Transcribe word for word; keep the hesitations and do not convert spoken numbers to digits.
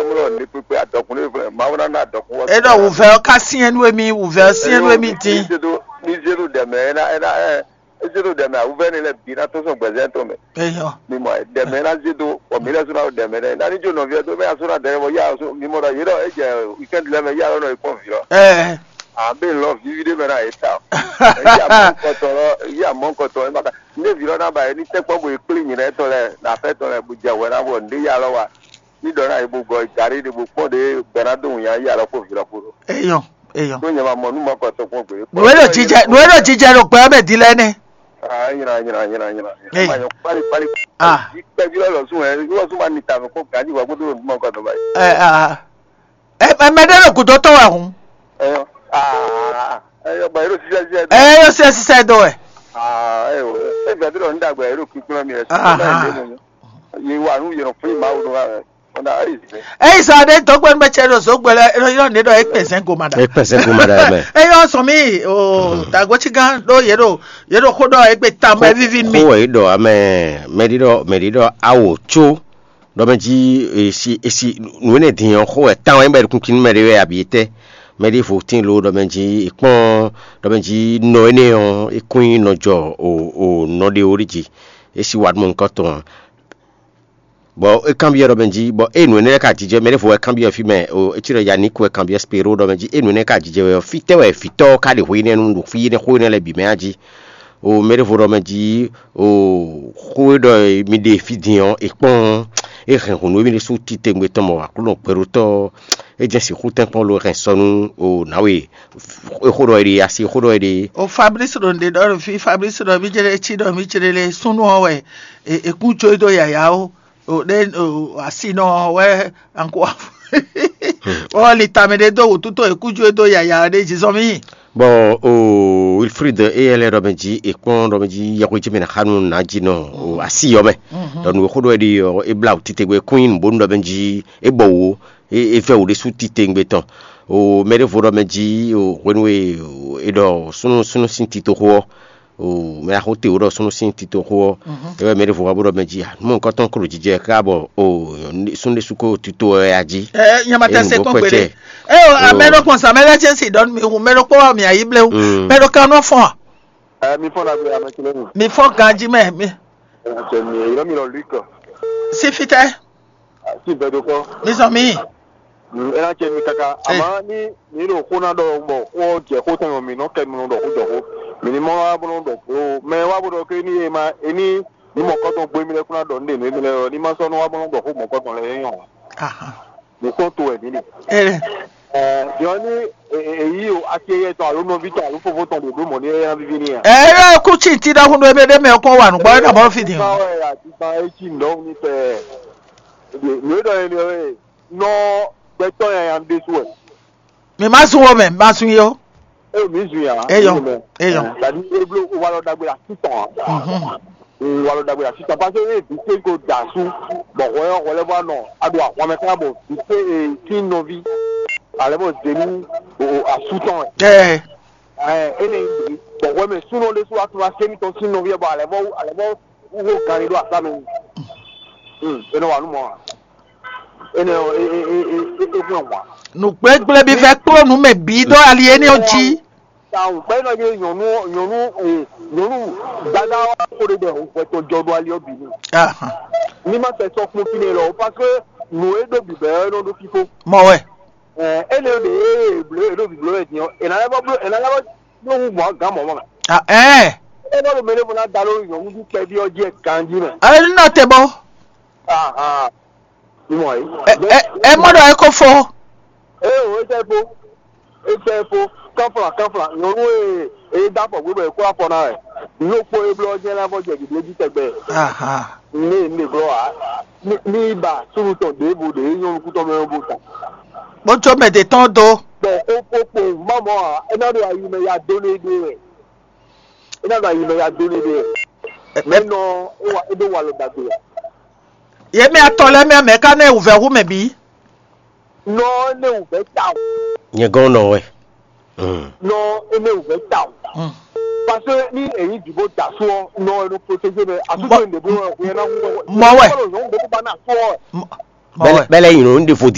Mlɔ ní pípé adɔkùn ní fúnɛ, Mawu ná ná adɔkùn wɔ. Eɖɔ wuvɛ ɔ ka siɛn nú emi, wuvɛ ɔ siɛn nú emi dín. Ní zéɖo ní zéɖo ɖɛmɛ ɛ ná ɛ ná ɛ é zéɖo ɖɛmɛ awuvɛ ní lɛ bǐ ná tó sɔn gbɛzɛn tɔn mɛ. Eyɔ. Mi mɔ ɖɛmɛ ná zéɖo bɔ mi lɛ sɔn ná ɖɛmɛ ɖɛ ná ní jó nɔvi ɔ́ tó mɛ asɔn ná dɛrɛ bɔ yá mi mɔ ɖɔ yé ɖɔ é jɛ weekend lɛ mɛ yá lɔ nɔ yi kpɔn vǐ lɔ. Ɛ. Abe lɔ vivi ɖé mɛ ná yé ta. Yá mɔ kɔtɔ lɔ yá mɔ kɔtɔ ɛ má ka. Ndé vǐ lɔ ná ba yé ní tɛkpɔ bo yi kplí nyǐ lɛ tɔn lɛ na fɛ tɔn lɛ bo jɛ wɛ ná bɔ ndé yá lɔ wa. Ní ɖɔ ná yě bo gɔ gǎrí ɖé bó kpɔ́n ɖě gbɛ ná dó wǔnya yí alɔ kpó vǐ lɔ kpó ɖó. Eyɔn, eyɔn. Ɖó nyɛ ma mɔ nú mɔkɔ tɔn kpɔ́n gbě. Nǔ e ɖo jijɛ nǔ e ɖo jijɛ ɖo gbɛ ɔ́ mɛ din lɛ́ɛ nɛ́. Ah, nyina nyina nyina nyina. Eyɔn. Ma nyɔ kpali kpali. Ah. Kpɛví lɔ lɔ sún ɛ lɔ sún ma ni tame kó gǎjí wá kó dó nú mɔkɔ tɔn báyìí. Ɛ ah. Ɛ ɛ mɛ ɖé ɖo gǔdo tɔn wɛ hǔn. Eyɔn. Ah. Eyɔn ba yɛ ɖo sísɛ sísɛ. Ɛ yɔ sísɛ sísɛ dó wɛ. Ah, eyɔn. Ɛ gbɛdúrà ń dàgbà yɛ ɖo kúkúrú mi ɛ. Ah. Yé wà nú yẹn fún ìmáwó ló wà rẹ. Eyi sɔ aɖe dɔgbe nu bɛ tsɛ ɖo zogbe lɛ ero yɔ ne ɖɔ ekpe zɛn goma ɖa. Ekpe zɛn goma ɖa mɛ. Eyɔ sɔn mi o dagoti gan ɖo ye ɖo ye ɖo xó ɖɔ egbe ta mɛ vivi mi. Xó wɛ ɖɔ amɛ mɛɖi ɖɔ mɛɖi ɖɔ awo tso ɖɔ mɛ dzi esi esi nu ne din ɔ xó wɛ tan wɛ bɛ kunkun mɛ ɖe wɛ abi tɛ mɛ ɖi vo tin lo ɖɔ mɛ dzi ekpɔn ɖɔ mɛ dzi nɔ ene ɔ ekun nɔ jɔ o o nɔ ɖe o ɖi dzi esi wa ɖo mɔ nukɔ tɔn. Bɔ é kanbyɔ́ ɖɔ mɛ jí, bɔ ée nǔ énɛ́ lɛ́ɛ ka jijɛ mɛ ɖěvo wɛ kanbyɔ́ fí mɛ, o é cí ɖɔ Yaník wɛ kanbyɔ́ Spero ɖɔ mɛ jí, ée nǔ énɛ́ ka jijɛ wɛ ɔ́, fítɛ́ wɛ vǐtɔ́ ɔ́ ka ɖe hwe énɛ́ nu ɖo fí énɛ́ xó énɛ́ lɛ́ɛ bǐ mɛ a jí? O mɛ ɖěvo ɖɔ mɛ jí, o xó e ɖɔ mi ɖe fí din ɔ́, è kpɔ́n ɔ́, é hɛn hǔn nú émí ɖésú titewungbe tɔn mɔ Aklúnɔ gbɛɖótɔ́ ɔ́, é jɛ́n sixú tɛ́nkpɔ́n lo hɛn sɔ nú o nǎwe. Xó ɖɔ é ɖe asi xó ɖɔ é ɖe. O Fablísi ɖo nǔɖé ɖɔ ɖo fí, Fablísi ɖɔ mí jlé cí ɖɔ mí jlé lé súnnu ɔ́ wɛ è kún jó dó yǎyá ó. O ɖé o asinɔ ɔ́ wɛ anko ɔ li tamɛ ɖé dó wǔtútó è kún jó dó yǎyá ɔ́ ɖé jí zɔn mí. Bɔ o Wilfrid éyɛ́ lɛ́ɛ ɖɔ mɛ jí è kpɔ́n ɖɔ mɛ jí yɛhwejí mɛ ná xá nú nǎjínɔ o asi ɔ́ mɛ. Ɖɔ nǔ e xó ɖɔ é ɖi ɔ́ é blá wǔ titewungbe kún nyí nǔbónú ɖɔ mɛ jí é bɔ wǔ é vɛ́ wǔ ɖésú titewungbe tɔn. O mɛ ɖěvo ɖɔ mɛ jí o hwenu e è ɖɔ súnnu súnnu sín titoxo ɔ́, o mɛ axó te wǒ ɖɔ súnnu sín titoxo ɔ́, é wɛ mɛ ɖěvo wá bó ɖɔ mɛ jí nú mɔ̌hunkɔtɔn ko ɖo jijɛ ká bɔ o súnnu ɖésú ko tito wɛ a jí. Ɛ nyama tɛ se kpɔn gbeɖe. Ɛ o amɛ ɖo kpɔn sa mɛ lɛ cɛ si ɖɔ mi hu mɛ ɖo kpɔ wa mi ayi blewu mɛ ɖo kan nɔ fɔn a. Ɛ mi fɔn na gbe ame kele mi. Mi fɔn ganji mɛ mi. Ɛ mi yɔrɔ mi lɔ lui kɔ. Si fitɛ. Si bɛ do kɔ. Mi sɔn mi. Mm, é ná cɛ mi káká. Àmọ́ ní mi ɖo xó ná ɖɔ bɔ xó ɔ́ jɛ xó tɔn yɔ mi nɔ kɛ mi nɔ ɖɔ xó jɔ xó. Mi ní mɔ wá bó nɔ ɖɔ xó. Mɛ wá bó ɖɔ ké ní e ma e ní ní mɔkɔtɔn gbé mi lɛ kún ná ɖɔ ní ɖe nú émi lɛ ɔ́, ní ma sɔ́ nú wá bó nɔ ɖɔ xó mɔkɔtɔn lɛ é nyɔ. Mi kpɔ́n to wɛ mǐ ɖe. Ɛ Ɛ yɔ ní èyí o ati eyɛ tɔn alo nɔví tɔn alo fofó tɔn ɖo ɖó mɔ̌ ní é ná víví n'i a. Ɛ é kú tsi ti ɖɔhun ɖo ebe ɖé mɛ kó wà nǔgbɔ é nà mɔ fi din. Ba wɛ àdìgbà etí ǹdɔwù ní fɛ. Nù é ɖɔ yẹn ni ɔ́ nɔ gbɛtɔ́ yẹn yan ɖésú wɛ. Mi ma sun wo mɛ, ma sun yo. E mi zun ya. Eyɔ, eyɔ. Tàbí eblo walɔ dagbe la títàn. Walɔ dagbe la títàn parce que e vite ko da su bɔ hwɛ hwɛ lɛ bɔ nɔ a do ahwan mɛ kan bɔ vite e tin nɔvi alɛ bɔ zenu o asu tɔn. Ɛ. Ɛ ene bɔ hwɛ mɛ sunɔ de su atuma semi tɔn sin nɔvi bɔ alɛ bɔ alɛ bɔ wo gani do asa mɛ. Hmm, ene wa nu mɔ. Ene o e e e e e e hwɛ wa. Nǔgblégblébi fẹ́ kpló nǔ mɛ bǐ ɖó ali énɛ́ ɔ́ jí. Tawun bɛɛ nɔ ye nyɔnu nyɔnu ee nyɔnu dada wa ko de bɛ hwɛtɔ jɔ do ali ɔbi ni. Ahan. Ni ma tɛ sɔ kpɔn fine lɔ parce que nù e ɖo bibɛ ɛ nɔ ɖo fifo. Mɔ wɛ. Ɛ ene de ee blo e ɖo biblo ɛ diɔ ena lɛ bɔ blo ena lɛ bɔ blo ŋu gbɔn gan mɔ mɔ. Ah ɛɛ. E bɔ lo mele fɔ na da lo nyɔnu du kpɛ bi ɔ jɛ ganji mɛ. Ayi nɔ tɛ bɔ. Ahan. Mimɔ yi. Ɛ ɛ ɛ mɔ ɖɔ ɛ ko fo. Ee o etɛ fo. Etɛ fo. Kanfla kanfla nyɔnu ee ee da afɔ gbé bɔ e kó afɔ na wɛ. Nukpo e blɔ jɛ la fɔ jɛ gbigblé ji tɛgbɛ. Aha. Ne ne blɔ wa. Ni ni ba sunu tɔn ɖe bo ɖe nyɔnu kutɔ mɛ bo ta. Bó tso mɛ de tɔn do. Bɔn o o kpo mamɔ a ena ɖo ayi mɛ ya do ne ɖe wɛ. Ena ɖo ayi mɛ ya do ne ɖe wɛ. Mɛ nɔ e wa e do wa lɔ dagbe ya. Yě mɛ atɔn lɛ́ɛ mɛ mɛ ká nɔ wǔvɛ́ hú mɛ bǐ. Nɔ énɛ́ wǔvɛ́ tawun. Nyɛ gɔ́n nɔ wɛ. Nɔ énɛ́ wǔvɛ́ tawun. Parce que ní èyí dìbò dà sú ɔ nɔ ẹnu protégé mɛ àtúntò ìdìbò ẹ kò yẹ náà wúwo. Mɔ wɛ. Kọ́lọ̀ yòówù gbogbo bá náà sú ọ. Bɛlɛ bɛlɛ yìnyín ní ɖe fòdì